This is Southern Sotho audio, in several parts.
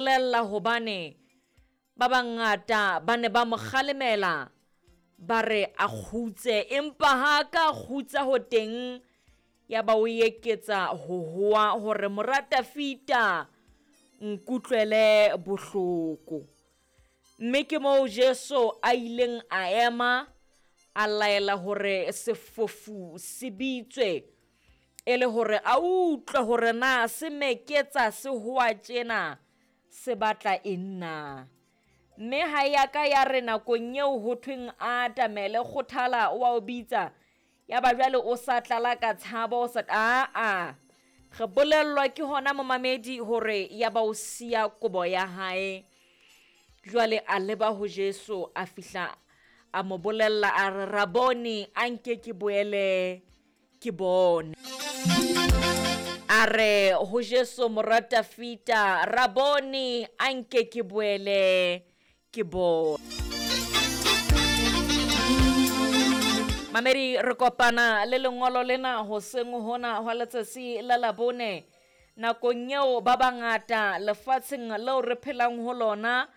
Bolella hobane ba bangata ba ne ba mo kgalemela ba re a kgutse, empa ha a ka kgutsa ho teng ya ba o eketsa ho hoa hore mora Tafita nkutlwele bohloko. Mme ke moo Jesu a ileng a ema a laela hore sefofu se bitswe e le hore a utlwe hore na se meketsa se hoa tjena se batla eng na. Mme ha ya ka ya re nakong eo ho thweng a atamele kgothala o a o bitsa ya ba jwale o sa tlala ka tshabo o sa aa re bolellwa ke hona momamedi hore ya ba o siya kobo ya hae jwale a leba ho Jesu a fihla a mo bolella a re rabone a nke ke boele ke bone. A re ho Jesu mora Tafita, Rabone, a nke ke boele ke bone. Mamedi, re kopana le lengolo lena hoseng hona hwa letsatsi la Labone, nakong eo ba bangata lefatsheng leo re phelang ho lona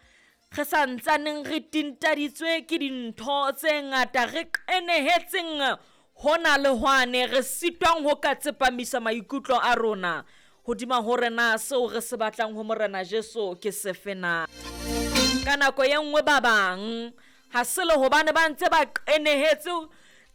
Re sa ntsaneng re tintaditswe ke dintho tse ngata, re qenehetseng hona le hwane, re sitwang ho ka tsepamisa maikutlo a rona hodima hore na seo re se batlang ho Morena Jesu ke sefe na. Ka nako e nngwe ba bang ha se le hobane ba ntse ba qenehetse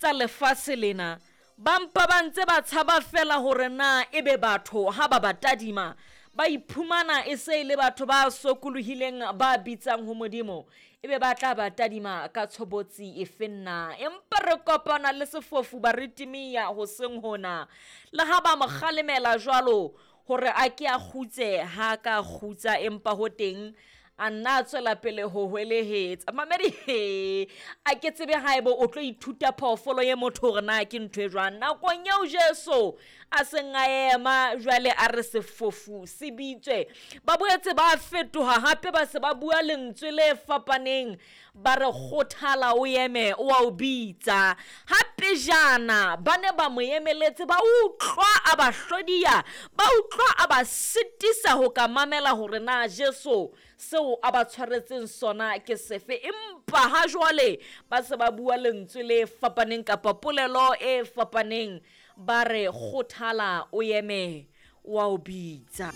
tsa lefatshe lena, Ba mpa ba ntse ba tshaba feela hore na ebe batho ha ba ba tadima ba iphumana e se e le batho ba sokolohileng ba bitsang ho Modimo, ebe ba tla ba tadima ka tshobotsi efe na? Empa re kopana le sefofu Baritimia hoseng hona. Le ha ba mo kgalemela jwalo hore a ke a kgutse, ha a ka a kgutsa, empa ho teng a nna a tswela pele ho hwelehetsa. Mamedi, he, a ke tsebe haeba o tlo ithuta phoofolo ye motho hore na ke ntho e jwang. Nakong eo Jesu a seng a ema jwale a re sefofu se bitswe, ba boetse ba fetoha hape ba se ba bua lentswe le fapaneng ba re kgothala o eme o a o bitsa. Ha pejana ba ne ba mo emeletse ba utlwa a ba hlodiya, ba utlwa a ba sitisa ho ka mamela hore na Jesu seo a ba tshwaretseng sona ke sefe. Empa ha jwale ba se ba bua lentswe le fapaneng kapa polelo e fapaneng ba re kgothala o eme o a o bitsa.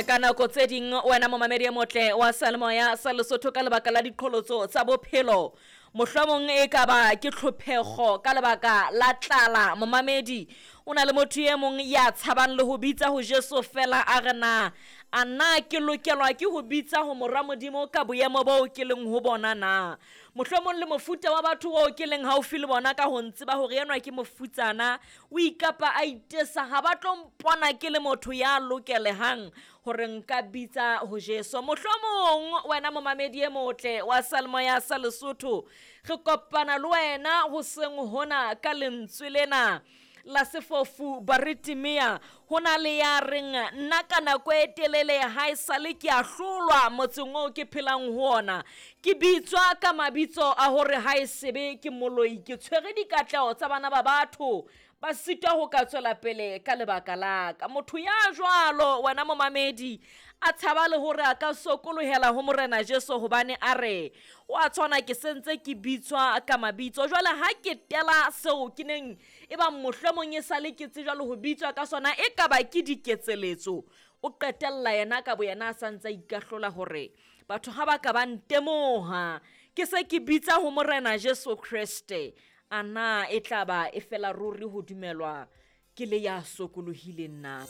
Ka nako tse ding wena momamedi e motle wa salemoya sa Lesotho, ka lebaka la diqholotso tsa bophelo, mohlomong e ka ba ke tlhophego ka lebaka la tlala, momamedi o na le motho e mong ya tshabang le ho bitsa ho Jesu fela a re na a na ke lokelwa ke ho bitsa ho mora Modimo ka boemo boo ke leng ho bona na? Mohlomong le mofuta wa batho oo ke leng haufi le bona ka ho ntseba hore enwa ke mofutsana, o ikapa a itesa, ha ba tlo mpona ke le motho ya lokelehang hore nka bitsa ho Jesu. Mohlomong wena momamedi e motle wa Salmoya sa Lesotho, re kopana le wena hoseng hona ka lentswe lena la sefofu Baritimea. Ho na le ya reng, Nna ka nako e telele ha e sale ke a hlolwa motseng oo ke phelang ho ona. Ke bitswa ka mabitso a hore ha e sebe ke moloi, ke tshwere dikatleho tsa bana ba batho, ba sitwa ho ka tswela pele ka lebaka la ka. Motho ya jwalo, wena momamedi, a tshaba le hore a ka sokolohela ho Morena Jesu hobane a re, O a tshwana ke sentse ke bitswa ka mabitso. Jwale ha ke tela seo ke neng e bang mohlomong e sale ke tsejwa le ho bitswa ka sona, e ka ba ke diketseletso. O qetella yena ka boyena a sa ntse a ikahlola hore batho ha ba ka ba ntemoha ke se ke bitsa ho Morena Jesu Kreste, a na e tla ba e fela ruri ho dumelwa ke le ya sokolohileng na?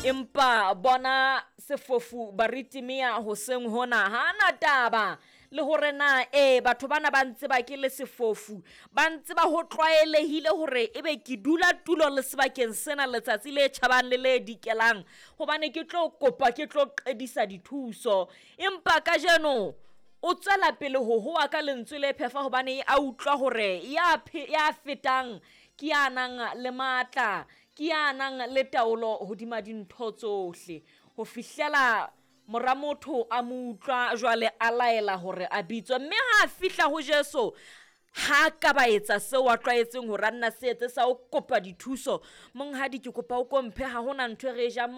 Empa bona sefofu Baritimea hoseng hona ha na taba le hore na ee batho bana ba ntseba ke le sefofu, ba ntseba ho tlwaelehile hore ebe ke dula tulo le sebakeng sena letsatsi le tjhabang le le dikelang hobane ke tlo kopa ke tlo qedisa dithuso. Empa kajeno o tswela pele ho hoa ka lentswe le phefa hobane a utlwa hore ya, ya fetang ke ya nang le matla, ke ya nang le taolo hodima dintho tsohle, ho fihlela Mora motho a mo utlwa jwale a laela hore a bitswe. Mme ha a fihla ho Jesu, ha a ka ba etsa seo a tlwaetseng hore a nna se etse sa ho kopa dithuso. Monghadi, ke kopa o ko mphe, ha hona ntho e re e jang.